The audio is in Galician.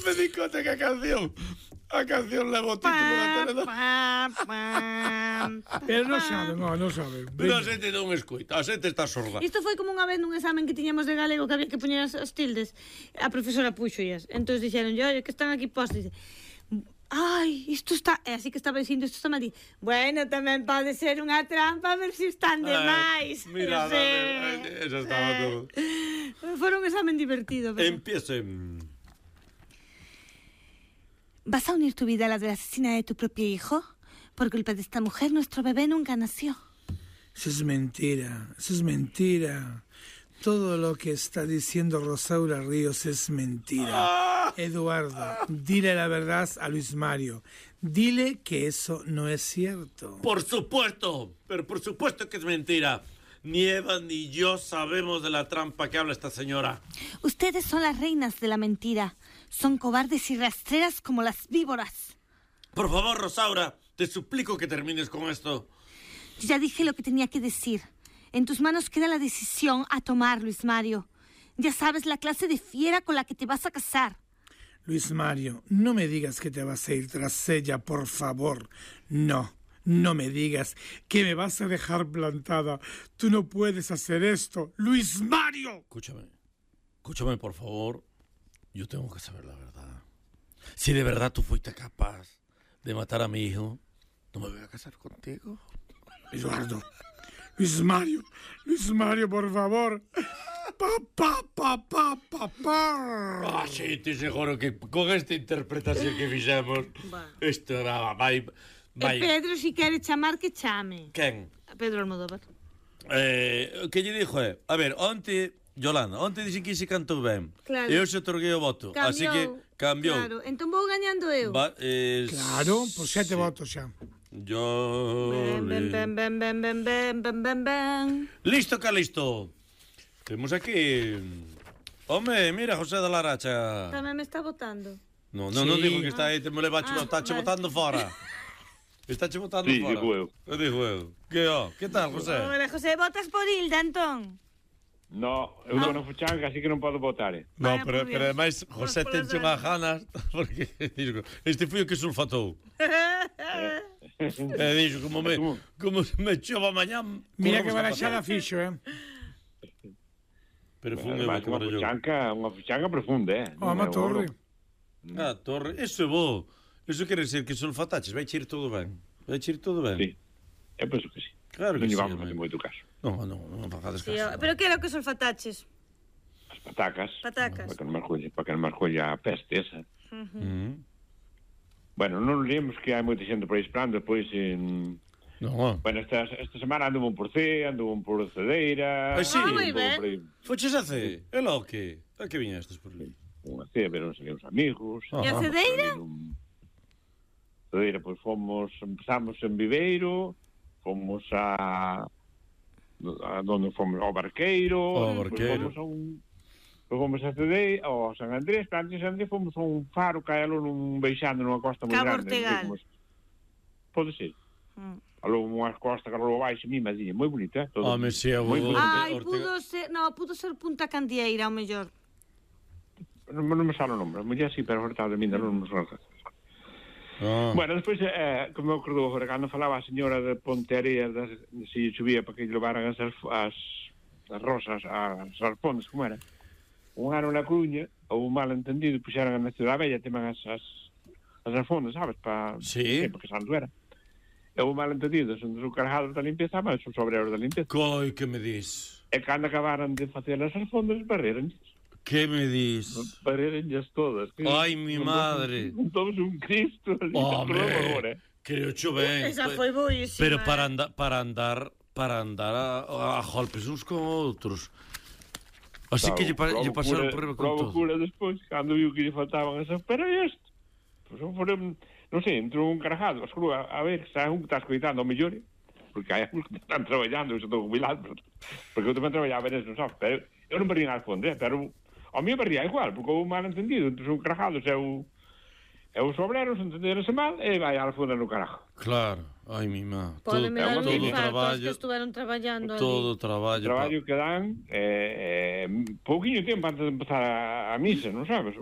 me di conta que a canción leva o título da telenovela. Pero non saben. Pero a xente non escoita, a xente está sorda. Isto foi como unha vez nun examen que tiñamos de galego que había que poñer as tildes. A profesora puxoias. Entón dixeron, oye, que están aquí postas. Ai, isto está... É así que estaba dicindo, isto está mal. Bueno, tamén pode ser unha trampa, a ver se están demais. Mira, eso estaba todo. Foi un examen divertido. Pero... Empiecen. ¿Vas a unir tu vida a la de la asesina de tu propio hijo? Por culpa de esta mujer, nuestro bebé nunca nació. Eso es mentira. Todo lo que está diciendo Rosaura Ríos es mentira. Eduardo, dile la verdad a Luis Mario. Dile que eso no es cierto. Por supuesto, pero por supuesto que es mentira. Ni Eva ni yo sabemos de la trampa que habla esta señora. Ustedes son las reinas de la mentira. Son cobardes y rastreras como las víboras. Por favor, Rosaura, te suplico que termines con esto. Yo ya dije lo que tenía que decir. En tus manos queda la decisión a tomar, Luis Mario. Ya sabes la clase de fiera con la que te vas a casar. Luis Mario, no me digas que te vas a ir tras ella, por favor. No me digas que me vas a dejar plantada. Tú no puedes hacer esto, Luis Mario. Escúchame, por favor. Yo tengo que saber la verdad. Si de verdad tú fuiste capaz de matar a mi hijo, no me voy a casar contigo. Eduardo. Luis Mario, por favor. Papá. Sí, te seguro que con esta interpretación que fixemos, isto vai. Pedro, si quere chamar, que chame. Quen? A Pedro Almodóvar. Que lle dixo a ver, onte dixen que se cantou ben. Claro. E eu se otorguei o voto. Cambiou. Así que cambiou. Claro, entón vou gañando eu. Claro, por 7 votos xa. Yo... Ben. Listo, Calisto. Temos aquí... Home, mira, José da Laracha. Tamén me está votando. Non digo que está aí, te me levache, estáche botando fora. Estáche botando fora. Sí, digo eu. Que tal, José? Hola, José, votas por Hilda, entón? No, eu estou na fuchanca, así que non podo votar. No, pero ademais, José tenche unhas ganas, porque este foi o que sulfatou. Dixo, como me chova mañá... Mira que baraxada fixo, Pero funde unha fuchanca profunda, Uma torre. Torre, eso é bo. Eso quere ser que sulfataches, vai cheir todo ben. Sí, eu penso que sí. Claro que non sí. Non llevamos moito caso. Non facades caso. Pero que era o que sulfataches? As patacas. Para que non me escolla a peste esa. Bueno, non liemos que hai moita xente por aí esperando, depois Bueno, esta semana anduvo un por C, anduvo un por Cedeira... Ai, sí? Moi ben. Foches a C? E logo que? A que viñestes por ali? Unha C, veron uns amigos... E a Cedeira? Cedeira, pois empezamos en Viveiro, fomos a donde fomos ao Barqueiro... Fomos a Cedeira, ao San Andrés, pero antes de San Andrés fomos a un faro que hai algo beixando nunha costa moi grande. Cabo Ortegal. Pode ser. Algo unha costa que algo baixo, mimadinha, moi bonita. Home, si, pudo ser Punta Candieira, ao mellor. Non me sale o nome, a muller sí, pero ahorita de mí non me sale. Bueno, despois, como eu acordo agora, cando falaba a señora de Pontearea, se chovía para que levaran as rosas, as arpondas, como era? Un ano na Coruña, houve un malentendido, puxeran na Cidade Bella, teman as alfondas, sabes? Sí. Porque santo era. Houve un malentendido, son dos cargados da limpeza, mas son obreros da limpeza. Coi, que me dis? E cando acabaran de facer as alfondas, barreranlles. Que me dis? Barreranlles todas. Ai, mi madre. Todos un Cristo. Home, creo cho ben. Esa foi boísima. Pero para andar a golpes uns con outros. Así que lle pasaron por riba con todo. Provocura despois, cando viu que lle faltaban esas, pero isto, pois foron, non sei, entrou un carajado, a ver, xa un que está escoitando ao mellor, porque hai uns que están traballando, eu estou jubilado, porque eu tamén traballaba en eso, non sabes, pero eu non perdía nada fonde, pero ao mío perdía igual, porque houve un malentendido, entón un carajado, e os obreros entenderonse mal, e vai a fonda no carajo. Claro, ai, mi má. Pode me dar un infarto, que estuveron traballando ali. Todo traballo. O traballo que dan, pouquiño tempo antes de empezar a misa, non sabes?